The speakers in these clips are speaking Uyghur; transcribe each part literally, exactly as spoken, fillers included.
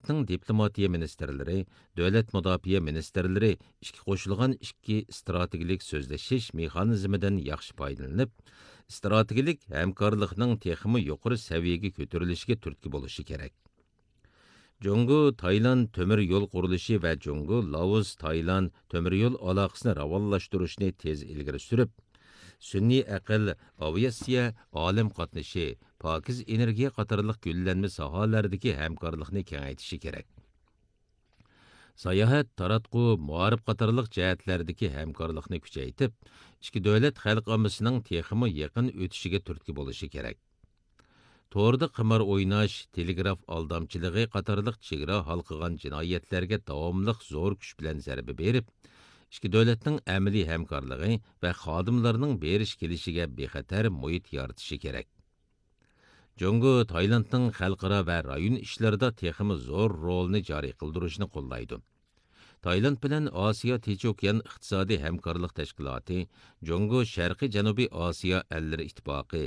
دۆلەتنىڭ دىپلوماتىيە مىنىستىرلىرى، دۆلەت مۇداپىئە مىنىستىرلىرى ئىككى قوشۇلغان ئىككى ئىستراتېگىيەلىك سۆزلىشىش مېخانىزمىدىن ياخشى پايدىلىنىپ، ئىستراتېگىيەلىك ھەمكارلىقنىڭ تېخىمۇ يۇقىرى سەۋىيەگە كۆتۈرۈلۈشىگە تۈرتكە بولۇشى كېرەك. جۇڭگو تايلاند تۆمۈر يول قۇرۇلۇشى ۋە جۇڭگو لاۋۇز تايلاند تۆمۈر يول ئالاقىسىنى راۋانلاشتۇرۇشنى تېز ئىلگىرى سۈرۈپ، سۈنئىي ئەقىل، ئاۋىئاتسىيە، ئالەم قاتنىشى، پاكىز ئېنېرگىيە قاتارلىق گۈللەنمە ساھەلەردىكى ھەمكارلىقنى كېڭەيتىشى كېرەك. ساياھەت، تاراتقۇ، مائارىپ قاتارلىق جەھەتلەردىكى ھەمكارلىقنى كۈچەيتىپ، ئىككى دۆلەت خەلق ئاممىسىنىڭ تېخىمۇ يېقىن ئۆتۈشىگە تۈرتكە بولۇشى كېرەك. توردا قىمار ئويناش، تېلېگراف ئالدامچىلىقى قاتارلىق چېگرا ھالقىغان جىنايەتلەرگە داۋاملىق زور كۈچ بىلەن زەربە بېرىپ، ئىككى دۆلەتنىڭ ئەمەلىي ھەمكارلىقى ۋە خادىملارنىڭ بېرىش كېلىشىگە بىخەتەر مۇھىت يارىتىشى كېرەك. جۇڭگو تايلاندنىڭ خەلقئارا ۋە رايون ئىشلىرىدا تېخىمۇ زور رولىنى جارى قىلدۇرۇشنى قوللايدۇ. تايلاند بىلەن ئاسىيا تىنچ ئوكيان ئىقتىسادىي ھەمكارلىق تەشكىلاتى، جۇڭگو شەرقىي جەنۇبىي ئاسىيا ئەللىرى ئىتتىپاقى،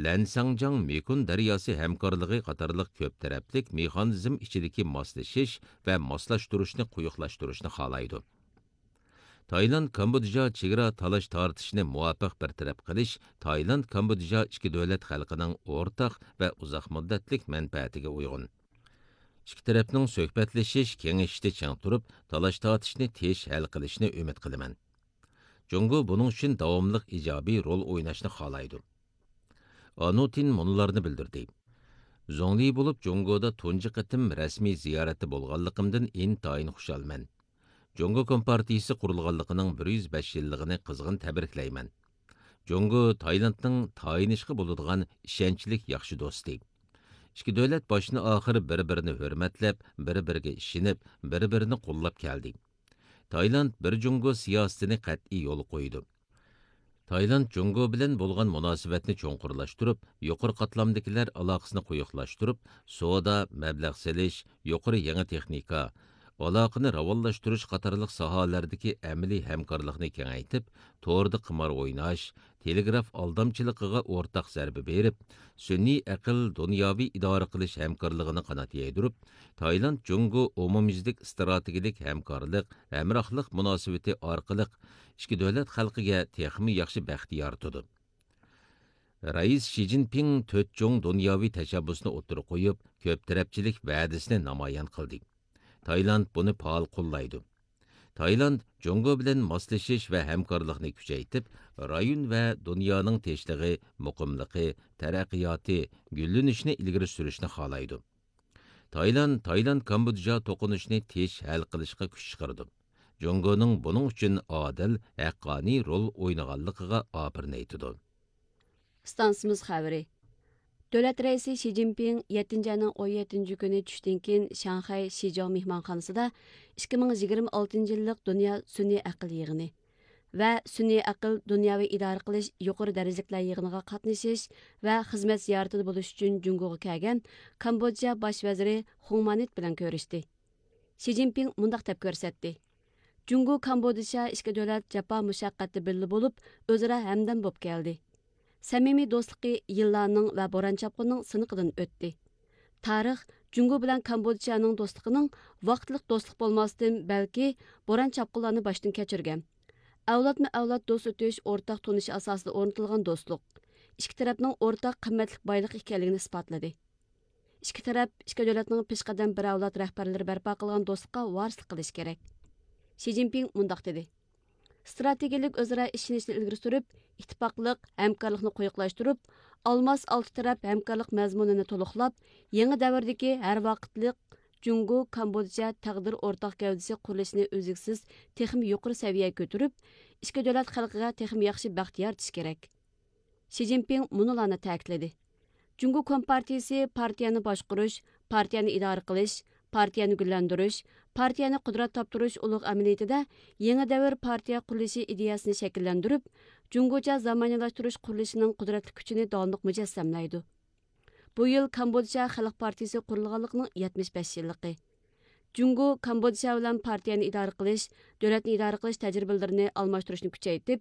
لەنساڭجاڭ مېكون دەرياسى ھەمكارلىقى قاتارلىق كۆپ تەرەپلىك مېخانىزم ئىچىدىكى ماسلىشىش ۋە ماسلاشتۇرۇشنى قويۇقلاشتۇرۇشنى خالايدۇ. تايلاند كامبودژا چېگرا تالاش تارتىشىنى مۇۋاپىق بىر تەرەپ قىلىش تايلاند كامبودژا ئىككى دۆلەت خەلقىنىڭ ئورتاق ۋە ئۇزاق مۇددەتلىك مەنپەئەتىگە ئۇيغۇن. ئىككى تەرەپنىڭ سۆھبەتلىشىش، كېڭىشىشتە چىڭ تۇرۇپ، تالاش تارتىشنى تېز ھەل قىلىشىنى ئۈمىد قىلىمەن. جۇڭگو بۇنىڭ ئۈچۈن داۋاملىق ئىجابىي رول ئويناشنى خالايدۇ. ئانۇتىن مۇنۇلارنى بىلدۈردى: زۇڭلى بولۇپ جۇڭگودا تۇنجى قېتىم رەسمىي زىيارەتتە بولغانلىقىمدىن ئىنتايىن خۇشالمەن. جۇڭگو كومپارتىيىسى قۇرۇلغانلىقىنىڭ بىر يۈز بەش يىللىقىنى قىزغىن تەبرىكلەيمەن. جۇڭگو تايلاندنىڭ تايىنىشقا بولىدىغان ئىشەنچلىك ياخشى دوستى. ئىككى دۆلەت باشتىن ئاخىر بىر بىرىنى ھۆرمەتلەپ، بىر بىرىگە ئىشىنىپ، بىر بىرىنى قوللاپ كەلدى. تايلاند بىر جۇڭگو سىياسىتىنى قەتئىي يولغا قويىدۇ. تايلاند جۇڭگو بىلەن بولغان مۇناسىۋەتنى چوڭقۇرلاشتۇرۇپ، يۇقىرى قاتلامدىكىلەر ئالاقىسىنى قويۇقلاشتۇرۇپ، سودا، مەبلەغ سېلىش، يۇقىرى يېڭى تېخنىكا، ئالاقىنى راۋانلاشتۇرۇش قاتارلىق ساھەلەردىكى ئەمەلىي ھەمكارلىقنى كېڭەيتىپ، توردا قىمار ئويناش، تېلېگراف ئالدامچىلىقىغا ئورتاق زەربە بېرىپ، سۈنئىي ئەقىل دۇنياۋى ئىدارە قىلىش ھەمكارلىقىنى قانات يايدۇرۇپ، تايلاند جۇڭگو ئومۇميۈزلۈك ئىستراتېگىيەلىك ھەمكارلىق، ھەمراھلىق مۇناسىۋىتى ئارقىلىق ئىككى دۆلەت خەلقىگە تېخىمۇ ياخشى بەخت يارىتىدۇ. رەئىس شى جىنپىڭ تۆت چوڭ دۇنياۋى تەشەببۇسنى ئوتتۇرىغا قويۇپ، كۆپ تەرەپچىلىك ۋەدىسىنى نامايان قىلدى. تايلاند بۇنى پائال قوللايدۇ. تايلاند جۇڭگو بىلەن ماسلىشىش ۋە ھەمكارلىقنى كۈچەيتىپ، رايون ۋە دۇنيانىڭ تىنچلىقى، مۇقىملىقى، تەرەققىياتى، گۈللىنىشىنى ئىلگىرى سۈرۈشنى خالايدۇ. تايلاند، تايلاند كامبودژا توقۇنۇشىنى تېز ھەل قىلىشقا كۈچ چىقىرىدۇ. جۇڭگونىڭ بۇنىڭ ئۈچۈن ئادىل، ھەققانىي رول ئوينىغانلىقىغا ئاپىرىن ئېيتىدۇ. ئىستانسىمىز خەۋىرى. دۆلەت رەئىسى شى جىنپىڭ يەتتىنچى ئاينىڭ ئون يەتتىنچى كۈنى چۈشتىن كېيىن شاڭخەي شىجاۋ مېھمانخانىسىدا ئىككى مىڭ يىگىرمە ئالتىنچى يىللىق دۇنيا سۈنئىي ئەقىل يىغىنى ۋە سۈنئىي ئەقىل دۇنياۋى ئىدارە قىلىش يۇقىرى دەرىجىلىكلەر يىغىنىغا قاتنىشىش ۋە خىزمەت زىيارىتىدە بولۇش ئۈچۈن جۇڭگوغا كەلگەن كامبودژا باش ۋەزىرى خۇڭ مانىت بىلەن كۆرۈشتى. شى جىنپىڭ مۇنداق دەپ كۆرسەتتى: جۇڭگو كامبودژا ئىككى دۆلەت جاپا مۇشەققەتتە بىللە بولۇپ، ئۆزئارا ھەمدەم بولۇپ كەلدى. سەمىمىي دوستلۇقى يىللارنىڭ ۋە بوران چاپقۇننىڭ سىنىقىدىن ئۆتتى. تارىخ جۇڭگو بىلەن كامبودژانىڭ دوستلۇقىنىڭ ۋاقىتلىق دوستلۇق بولماستىن، بەلكى بوران چاپقۇنلارنى باشتىن كەچۈرگەن، ئەۋلادمۇ ئەۋلاد دوست ئۆتۈش ئورتاق تونۇشى ئاساسىدا ئورنىتىلغان دوستلۇق، ئىككى تەرەپنىڭ ئورتاق قىممەتلىك بايلىق ئىكەنلىكىنى ئىسپاتلىدى. ئىككى تەرەپ ئىككى دۆلەتنىڭ پېشقەدەم بىر ئەۋلاد رەھبەرلىرى بەرپا قىلغان دوستلۇققا ۋارىسلىق قىلىشى كېرەك. شى جىنپىڭ مۇنداق دېدى: ستراتېگىيەلىك ئۆزئارا ئىشىنىشنى ئىلگىرى سۈرۈپ، ئىتتىپاقلىق، ھەمكارلىقنى قويۇقلاشتۇرۇپ، ئالماس ئالتە تەرەپ ھەمكارلىق مەزمۇنىنى تولۇقلاپ، يېڭى دەۋردىكى ھەر ۋاقىتلىق جۇڭگو كامبودژا تەقدىر ئورتاق گەۋدىسى قۇرۇلۇشىنى ئۈزلۈكسىز تېخىمۇ يۇقىرى سەۋىيەگە كۆتۈرۈپ، ئىككى دۆلەت خەلقىگە تېخىمۇ ياخشى بەخت يارىتىشى كېرەك. شى جىنپىڭ مۇنۇلارنى تەكىتلىدى: جۇڭگو كومپارتىيىسى پارتىيەنى باشقۇرۇش، پارتىيەنى ئىدارە قىلىش، پارتىيەنى گۈللەندۈرۈش، پارتىيەنى قۇدرەت تاپتۇرۇش ئۇلۇغ ئەمەلىيىتىدە يېڭى دەۋر پارتىيە قۇرۇلۇشى ئىدىيەسىنى شەكىللەندۈرۈپ، جۇڭگوچە زامانىۋىلاشتۇرۇش قۇرۇلۇشىنىڭ قۇدرەتلىك كۈچىنى داۋاملىق مۇجەسسەملەيدۇ. بۇ يىل كامبودژا خەلق پارتىيىسى قۇرۇلغانلىقىنىڭ يەتمىش بەش يىللىقى. جۇڭگو كامبودژا بىلەن پارتىيەنى ئىدارە قىلىش، دۆلەتنى ئىدارە قىلىش تەجرىبىلىرىنى ئالماشتۇرۇشنى كۈچەيتىپ،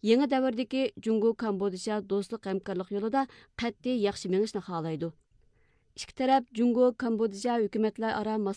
يېڭى دەۋردىكى جۇڭگو كامبودژا دوستلۇق ھەمكارلىق يولىدا قەتئىي ياخشى مېڭىشنى خالايدۇ. ئىككى تەرەپ جۇڭگو كامبودژا ھۆكۈمەتلەر ئارا ماس